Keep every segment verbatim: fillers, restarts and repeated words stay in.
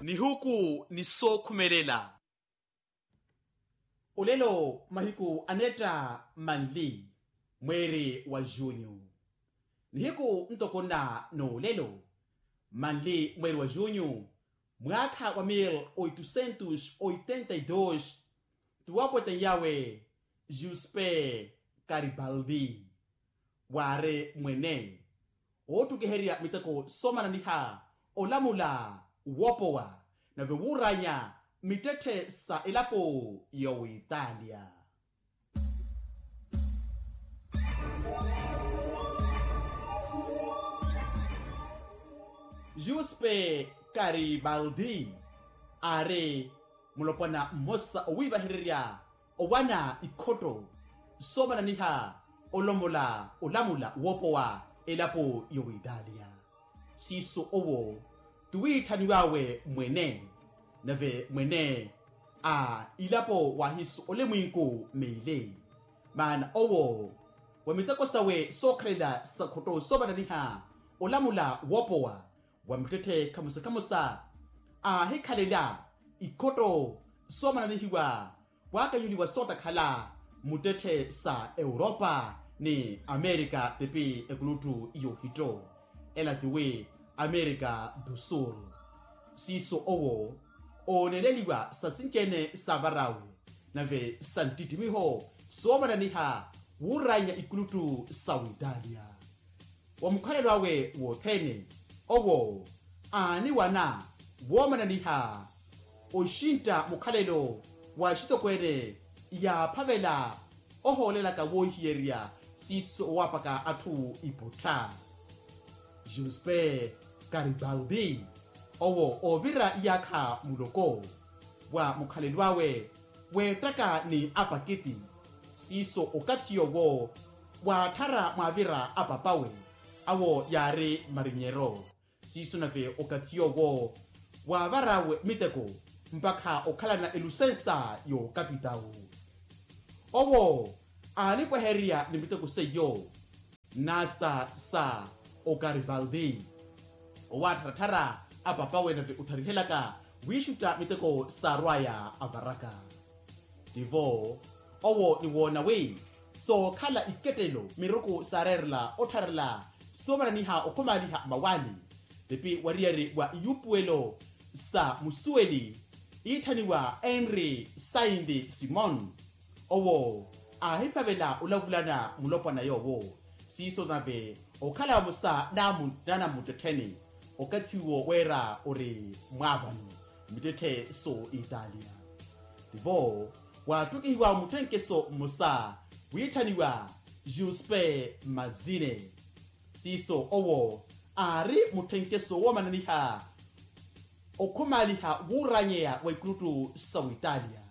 Nihuku ni sookhumelela. Olelo mahiku aneetta manli mweeri wa junyu. Nihiku ntoko nna n'olelo manli mweeri wa junyu, mwaakha wa mil oitocentos oitenta e dos, tuwapweteny'awe juspe karibaldi waari mwene oottukiherya miteko soomananiha olamula woopowa nave wuuranya mittetthe sa elapo y'owitalia. Juspe karibaldi aari mulopwana mmosa owiivahererya owana ikhotto soomananiha olomola olamula woopowa elapo y'owitalia. Siiso owo tuwiitthaniw'awe mwene nave mwene a ilapo waahisu olemwinku meili. Maana owo wa miteko sawe sookhalela sa khotto soomananiha olamula woopowa wa mittetthe khamusa khamusa aahikhalela ikhotto soomananihiwa waakanyuliwa sootakhala muttetthe sa europa ni amerika tipi ekuluttu y'ohitto ela tiwi amerika du sul. Siiso owo ooneeleliwa sa sinci-ene saavarawe nave sa nttittimiho soomananiha wuuranya ikuluttu sa witalia. Wa mukhalelo awe wothene owo aaniwana woomananiha oxintta mukhalelo wa axitokweene yaaphavela ohoolelaka woohiyerya siiso owaapaka atthu iputtha. Juspe karibaldi owo oovira iyaakha muloko wa mukhalelo awe weettaka ni apakiti. Siiso okathi yoowo waatthara mwaavira apapawe awo yaari marinyero. Siiso nave okathi yoowo waavar'awe miteko mpakha okhalana elusensa y'okapitawu. Owo aanipwehererya ni miteko seiyo nasa sa okaribaldi owaattharatthara apapawe nave otharihelaka wiixutta miteko saarw'aya avaraka. Tivo owo niwoona wi sookhala ikettelo miruku saareerela ottharela soomananiha okhumaaliha mawaani. Tipi wariyari wa iyuupuwelo sa musuweli iitthaniwa henri sainti simon owo aahiphavela olavulana mulopwana yoowo. Siiso nave okhala vamosa naanammuttettheni okathi uwo weera ori mwaavani mittetthe so italia. Tivo waattukihiwa mutthenkeso mmosa wiitthaniwa juspe mazine. Siiso owo aari mutthenkeso woomananiha okhumaaliha wuuranyeya wa ikuluttu sa witalia.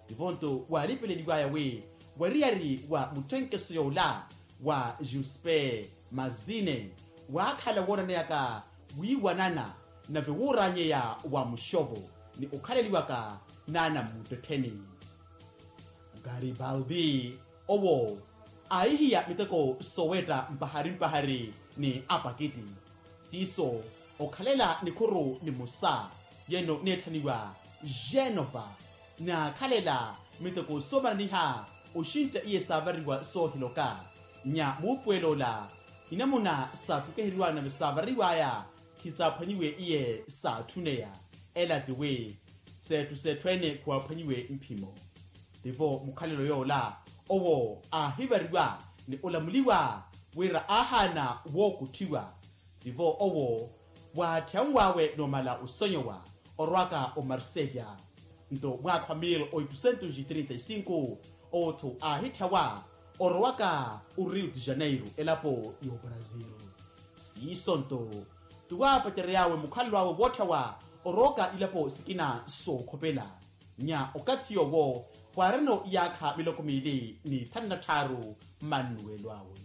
Tivo-nto waalipeleliw'aya wi wariyari wa mutthenkeso yoola wa juspe mazine waakhala woonaneyaka wiiwanana nave wuuranyeya wa muxovo ni okhaleliwaka naanammuttettheni. Garibaldi owo aahihiya miteko soowetta mpahari mpahari ni apakiti. Siiso okhalela nikhuru nimosa yeno neetthaniwa genova naakhalela miteko soomananiha oxintta iye saavariwa soohiloka nya muupuwel'ola inamuna saatthukeheryiw'aya nave saavariw'aya. Khisaaphwanyiwe iye saatthuneya ela tiwi seetthu seetthu ene khuwaaphwanyiwe mphimo. Tivo mukhalelo yoola owo aahivariwa ni olamuliwa wira aahaana wookutthiwa. Tivo owo waatthiyanw'awe noomala osonyowa orwaka omarseya. Nto mwaakha wa mil oitocentos e trinta e cinco otthu aahitthyawa orowaka orio de janeiro elapo y'obrazil. Siiso nto tuwaapacerery'awe mukhalelo awe wootthawa orowaka ilapo sikina sookhopela nya okathi yoowo waarino iyaakha miloko miili ni thanu na tthaaru mmannuwelo awe.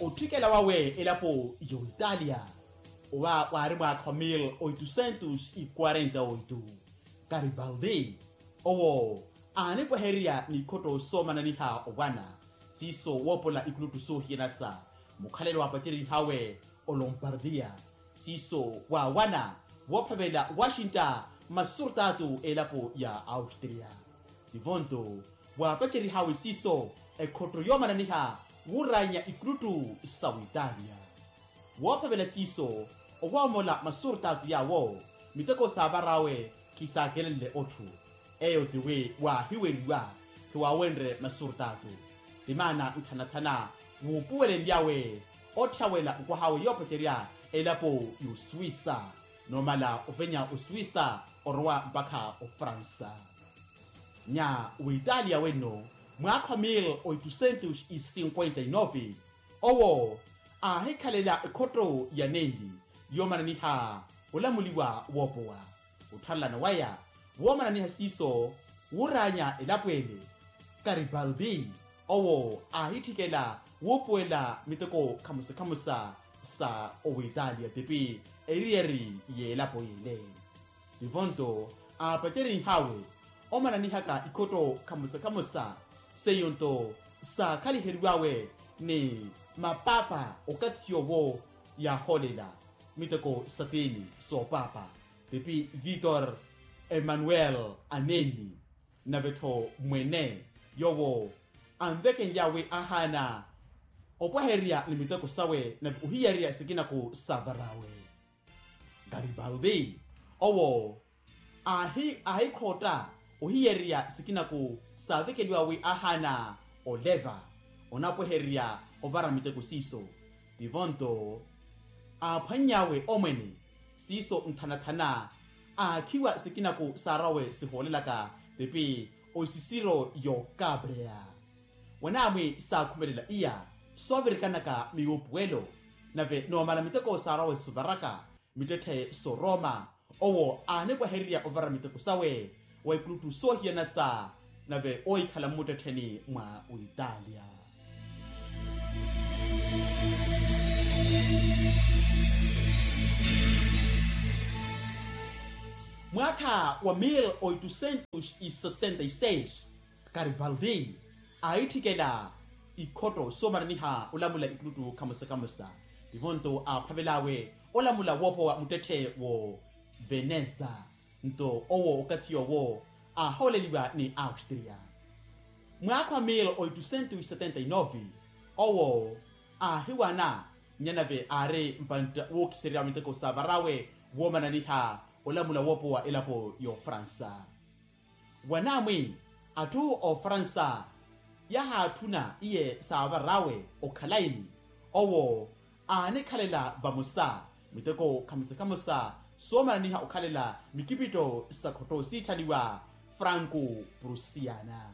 Otthikela wawe elapo y'oitalia owa waari mwaakha wa mil oitocentos e quarenta oito. Karibaldi owo aanipwehererya n'ikhotto soomananiha owana. Siiso woopola ikulutu soohiyana sa mukhalelo wa apaceryihawe olompardiya. Siiso waawana woophavela washington masurtaatu elapo ya austria. Tivonto waapaceryihawe siiso ekhotto yoomananiha wuuranya ikulutu sa witalia. Woophavela siiso owoomola masurtaatu yaawo miteko saavar'awe khisaakelenle otthu. Eyo tiwi waahiweriwa khiwaawenrye masurtaatu. Timaana nthanathana wuupuwelenlyawe otthawela nkwahawe yoopacerya elapo y'osuwisa. Noomala ovenya osuwisa orowa mpakha ofransa. Nya witalia wenno mwaakha wa mil oitusentos e cinquenta e nove owo aahikhalela ekhotto ya nenli yoomananiha olamuliwa woopowa. Ottharelana waya woomananiha siiso wuuranya elapo ele karibaldi owo aahitthikela wuupuwela miteko khamusa khamusa sa owitalia tipi eriyari y'elapo yele. Tivonto aapaceryihawe omananihaka ikhotto khamusa khamusa seiyo nto saakhaliheriwawe ni mapaapa okathi yoowo yaahoolela miteko satini soopaapa tipi vitor emanuel aneni. Nave-tho mwene yoowo anvekenlyawe ahaana opwahererya ni miteko sawe nave ohiyarerya sikinaku saavarawe. Garibaldi owo aahikhootta ohiyererya sikinaku saavekeliwawe ahaana oleva onapwehererya ovara miteko siiso. Tivo nto aaphwannyawe omwene siiso nthanathana aakhiwa sikinaku saarawe sihoolelaka tipi osisiro y'okabreya. Wanaamwi saakhumelela iya soovirikanaka miwuupuwelo nave noomala miteko saarawe suvaraka mittetthe sooroma owo aanipwahererya ovara miteko sawe wa ikulutu soohiyana sa nave oohikhala mmuttettheni mwa witalia. Mwaakha wa mil oitusentos e sesenta e seis karibaldi aahitthikela ikhotto soomananiha olamula ikulutu khamosa khamosa. Tivo nto aaphavelawe olamula woopowa muttetthe wo veneza nto owo okathi yoowo aahooleliwa ni austria. Mwaakha wa mil oitusentos e setenta e nove owo aahiwana nyanave aari mpantta wookisererya wa miteko saavarawe woomananiha olamula woopowa elapo y'ofransa. Wanaamwi atthu ofransa yahaatthuna iye saavarawe okhalaini owo aanikhalela vamosa miteko khamosa khamosa soomananiha okhalela mikipitto sa khotto siitthanniwa franco prusiana.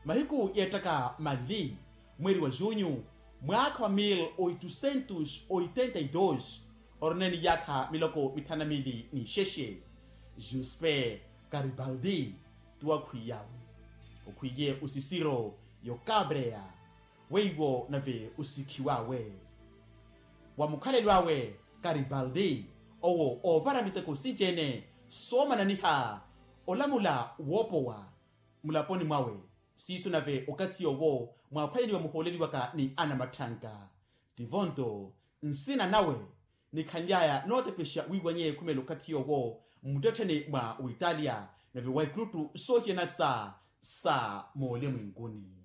Mahiku yeettaka manli mweeri wa junyu mwaakha wa mil oitusentos oitenta e dos orina ni yaakha miloko mithanu na miili n'ixexe juspe karibaldi tuwakhwiyawe okhwiye osisiro y'okabreya weiwo nave osikhiwawe wa mukhalelo awe karibaldi owo oovara miteko sinci-ene soomananiha olamula woopowa mulaponi mwawe siiso nave okathi yoowo mwaaphwanyeliwa muhooleliwaka ni anamatthanka. Tivo nto nsina nawe nikhanly'aya nootepexa wiiwanyeye khumela okathi yoowo mmuttettheni mwa witalia nave wa ikulutu soohiyana sa sa moolimwenkuni.